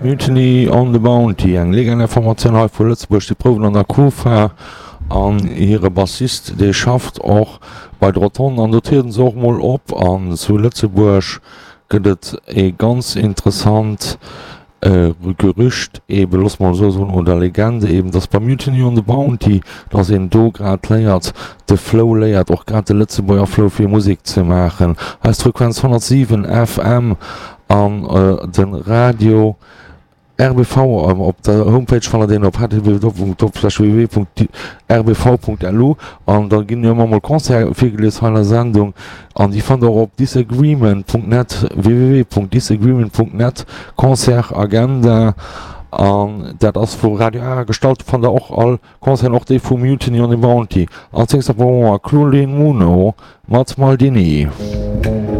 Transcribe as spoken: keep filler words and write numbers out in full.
Mutiny on the Bounty, eng legendär Formatioun hei vu Lëtzebuerg, déi prouwen an der Kufa an hire Bassist dee schafft och bei de Rotonden an do trieden se och mol op. An zu Lëtzebuerg gëtt et ee ganz interessant Gerücht eben, loosse mer esou soen, oder Legende eben, dass bei Mutiny on the Bounty, dass een do grad léiert, de Flow léiert, och grad de Lëtzebuerger Flow fir Musek ze maachen. Eis Frequenz honnertsiwen F M an de Radio R B V op der Homepage fannt der deen op H T T P W W punkt R B V punkt L U an da ginn jo ëmmer mol Concerte virgelies hei an der Sendung an déi fannt der och op disagreement punkt net, W W W punkt disagreement punkt net, Concert Agenda, an dat ass vu Radio Ara gestallt. Do fannt der och all Concerten, och déi vu Mutiny on the Bounty. Als nächst awer Claudine Muno mat Maldini.